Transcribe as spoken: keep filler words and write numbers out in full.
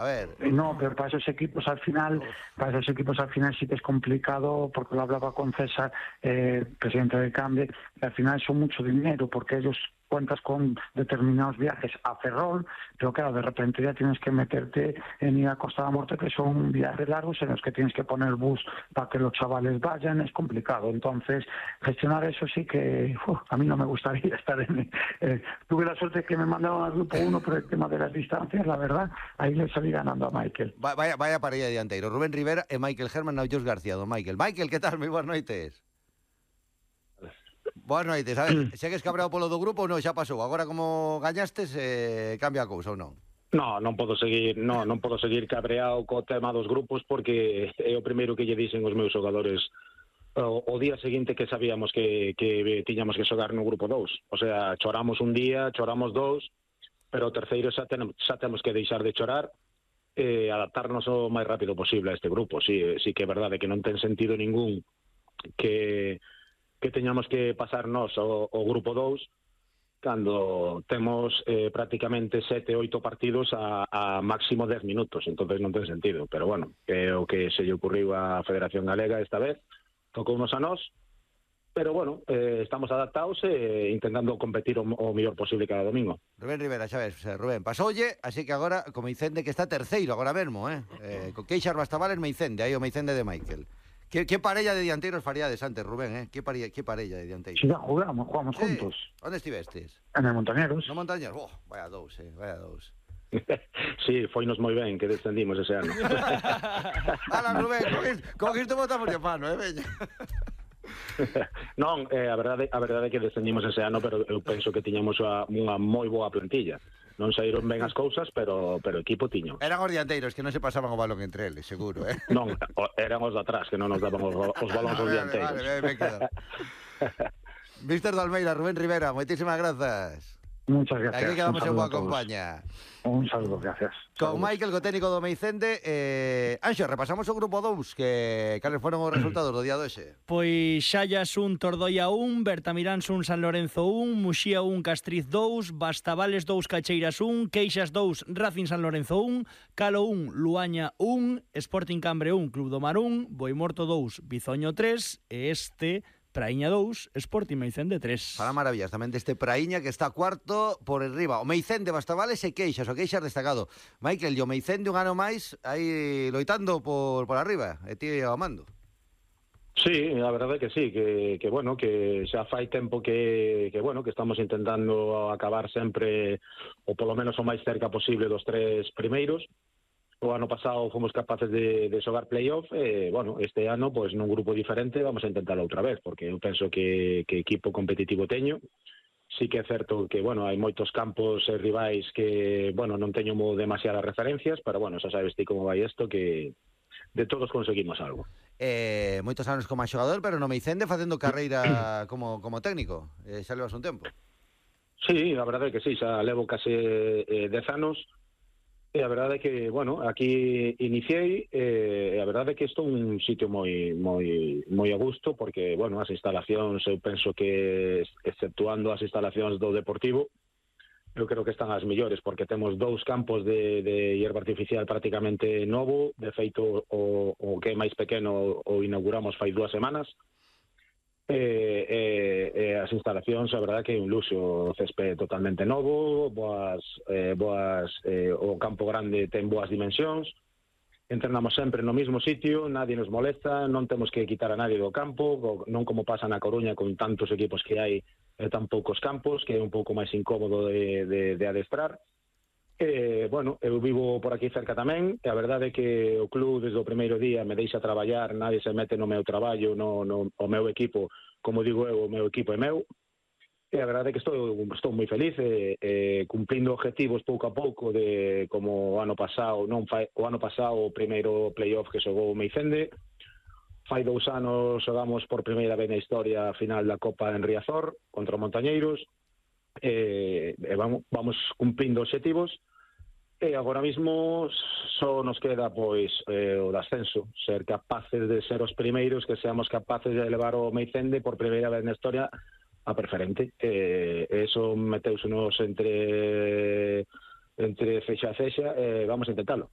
A ver. No, pero para esos equipos al final, para esos equipos al final sí que es complicado, porque lo hablaba con César, eh, presidente del Cambre, que al final son mucho dinero, porque ellos cuentas con determinados viajes a Ferrol, pero claro, de repente ya tienes que meterte en ir a Costa da Morte, que son viajes largos en los que tienes que poner bus para que los chavales vayan, es complicado. Entonces, gestionar eso sí que uf, a mí no me gustaría estar en... Eh, tuve la suerte que me mandaron al grupo uno por el tema de las distancias, la verdad, ahí le salí ganando a Michael. Va, vaya, vaya parella dianteiro, Rubén Rivera e Michael Herman e Jos García, do Michael. Michael, que tal? Moi boas noites. Boas noites, a ver, segues cabreado polo do grupo ou non, xa pasou? Agora como gañastes, eh, cambia a cousa ou non? No, non podo seguir, no, non podo seguir cabreado co tema dos grupos, porque é o primeiro que lle dicen os meus xogadores o, o día seguinte que sabíamos que, que tiñamos que xogar no grupo dous. O sea, choramos un día, choramos dous, pero o terceiro xa, ten, xa temos que deixar de chorar e eh, adaptarnos o máis rápido posible a este grupo. Sí, sí que é verdade que non ten sentido ningún que, que teñamos que pasar nós o, o grupo dous cando temos eh, prácticamente sete, oito partidos a, a máximo dez minutos, entonces non ten sentido. Pero bueno, é o que se lle ocurriu á Federación Galega esta vez, tocounos a nós, pero bueno, eh, estamos adaptados e eh, intentando competir o, o mellor posible cada domingo. Rubén Rivera, xa ves, Rubén, pasoulle, así que agora, co Meicende que está terceiro agora mesmo, eh? eh con Queixas Bastavales, Meicende, aí o Meicende de Michael. Que, que parella de dianteiros faríades antes, Rubén, eh? Que parella, que parella de dianteiros? Si ya jugamos, jugamos sí. juntos. Onde estivestes? En el Montañeros. No Montañeros, oh, vaya dous, eh, vaya dous. Sí, foinos moi ben que descendimos ese ano. Ala, Rubén, con isto botamos de pano, eh, veña. Non, eh, a verdade a verdade é que descendimos ese ano, pero eu penso que tiñamos a, unha moi boa plantilla. Non saíron ben as cousas, pero pero equipo tiño. Eran os dianteiros que non se pasaban o balón entre eles, seguro, eh? Non, eran os de atrás que non nos daban os, os balóns aos dianteiros. Vale, vale, me quedo. Mister Dalmeida, Rubén Rivera, moitísimas grazas. Muchas gracias. Aquí quedamos en boa compañía. Un saludo, gracias. Con Michael, co técnico do Meicende. eh, Anxo, repasamos o grupo dous, que cales foron os resultados do día doxe? Pois Xallas un, Tordoia un, Bertamiráns un, San Lorenzo un, Muxía un, Castriz dous, Bastavales dous, Cacheiras un, Queixas dous, Racing San Lorenzo un, Calo un, Luaña un, Sporting Cambre un, Club do Mar un, Boimorto dous, Bizoño tres, e este... Praíña dous, Sporting Meicende tres. Para maravillas tamén deste Praíña que está cuarto por enriba. O Meicende, Bastavales e Queixas, o Queixas destacado. Michael, e o Meicende un ano máis aí loitando por, por arriba, e ti ao mando. Sí, a verdade é que sí, que, que bueno, que xa fai tempo que, que bueno, que estamos intentando acabar sempre ou polo menos o máis cerca posible dos tres primeiros. O ano pasado fomos capaces de, de xogar playoff e, bueno, este ano, pois, nun grupo diferente vamos a intentarlo outra vez, porque eu penso que, que equipo competitivo teño. Sí que é certo que, bueno, hai moitos campos e rivais que, bueno, non teño demasiadas referencias, pero, bueno, xa sabes ti como vai isto, que de todos conseguimos algo. Eh, moitos anos como xogador, pero no Meicende facendo carreira como, como técnico. Eh, xa levas un tempo. Sí, a verdade é que sí, xa levo case eh, dez anos. E a verdade é que, bueno, aquí iniciei e a verdade é que isto é un sitio moi moi moi a gusto porque, bueno, as instalacións, eu penso que, exceptuando as instalacións do Deportivo, eu creo que están as mellores porque temos dous campos de, de hierba artificial prácticamente novo, de feito o, o que é máis pequeno o inauguramos fai dúas semanas. E, e, e as instalacións, a verdade que é un luxo, o césped totalmente novo, boas, eh, boas eh, o campo grande ten boas dimensións, entrenamos sempre no mesmo sitio, nadie nos molesta, non temos que quitar a nadie do campo, non como pasa na Coruña con tantos equipos que hai e tan poucos campos, que é un pouco máis incómodo de, de, de adestrar. E, bueno, eu vivo por aquí cerca tamén, e a verdade é que o club desde o primeiro día me deixa traballar, nadie se mete no meu traballo, no, no o meu equipo, como digo eu, o meu equipo é meu, e a verdade é que estou, estou moi feliz, e, e cumplindo objetivos pouco a pouco, de como o ano pasado, non fai, o ano pasado o primeiro playoff que xogou o Meicende, fai dous anos xogamos por primeira vez na historia a final da Copa en Riazor, contra o Montañeiros, e, e vamos, vamos cumplindo objetivos. E agora mesmo só nos queda pois eh, o de ascenso, ser capaces de ser os primeiros, que seamos capaces de elevar o Meicende por primeira vez na historia a preferente. E eh, eso meteusenos entre entre fecha a fecha, e eh, vamos a intentarlo.